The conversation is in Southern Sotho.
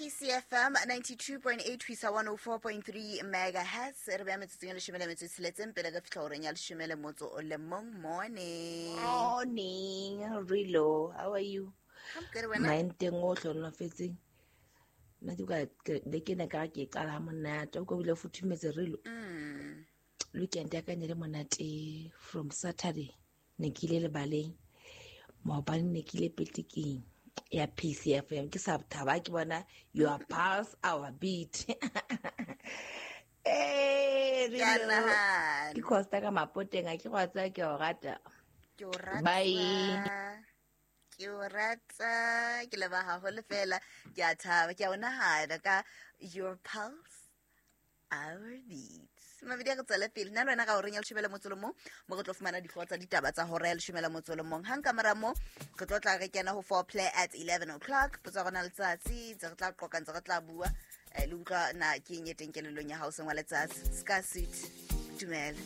PCFM 92.8 ho isa 104.3 megahertz. Re beya metsotsong e leshome le metso e tsheletseng pele re fihla horeng ya leshome le motso o le mong. Morning. Morning, Rilo. How are you? I'm good, wena? Maenteng o hlonofetseng. Nna ke ka le ke ne ka ke qala ha monate o ko bile futhumetse Rilo. Weekend ya ka ne le monate from Saturday ne ke ile lebaleng. Maobane ne ke ile peteking ya PCFM ke sa thaba ke bona your pulse our beat. Eh, Ke a Rilo. nahana. Ke Costa ka mapoteng a ke go a tsaya ke o rata. Ke o rata. Bye. Ke o rata, ke leboha haholo fela, ke a thaba, ke a o nahana ka your pulse our beats. Mabedi a re tswele pele nna le wena ka horeng ya leshome le motso le mong mo re tlo fumana dihlooho tsa ditaba tsa hora ya leshome le motso le mong. Hang ka mora moo re tlo tla re kena ho four play at 11 o'clock. Potso ya rona letsatsi ntse re tla qoqa, ntse re tla bua, le utlwa na ke eng e teng kelellong ya hao seng wa letsatsi. Ska suit, dumela.